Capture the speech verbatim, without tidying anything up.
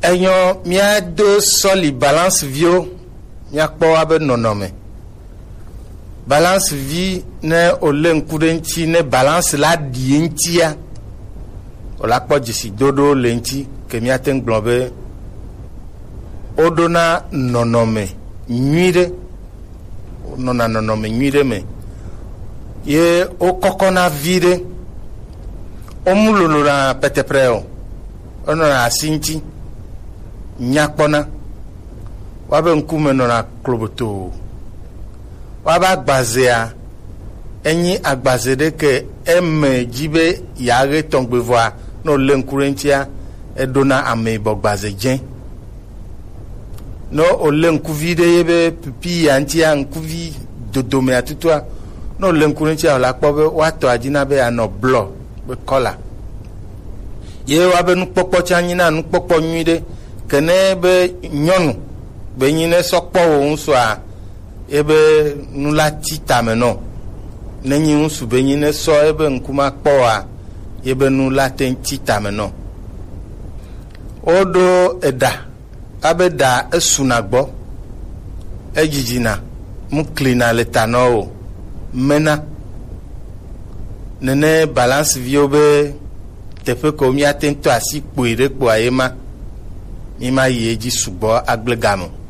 Enyɔ, míado sɔli balance viwo, míakpɔ woabe nɔnɔme. Balance vi, ne wòlé ŋku ɖe ŋuti, ne balance la ɖi ye ŋutia, wòla kpɔ dzesidodo le ŋuti, ke míate ŋu gblɔ be woɖona nɔnɔme nyui ɖe. Wonɔna nɔnɔme nyui ɖe me. Ye wokɔkɔna vi ɖe. Womu lolona pɛtɛpɛrɛ o. Wonɔna asi ŋuti. Nyakpɔna. Woabe ŋkume nɔna klobotoo. Woabe agbazea, enyi agbaze ɖe ke eme dzi be yeaɣe tɔgbe vɔa, ne wòlé ŋku ɖe ŋutia, eɖona ame yibɔ gbaze dzẽ. Ne wòlé ŋkuvi ɖe ye be pipi ya ŋutia, ŋkuvi dodomea tutua, ne wòlé ŋku ɖe ŋutia, wòla kpɔ be woatɔ adina be yeanɔ blɔ be kɔla. Ye woabe nukpɔkpɔ tsã nyina nukpɔkpɔ nyui ɖe. Ke ne be nyɔnu be nyi ne sɔ kpɔ wò ŋusua, ebe nu la ti tame nɔ. Ne nyi ŋusu be nyi ne sɔ ebe ŋku ma kpɔ wa, ebe nu la te ŋu ti tame nɔ. Woɖo eɖa, abe ɖa esuna gbɔ, edidina, mu klina le ta nɔ o, mena. Nene balance viwo be teƒe ko míate ŋu tɔ asi kpoe ɖe kpoa ye ma, mí ma yi edzi sugbɔ agble game o.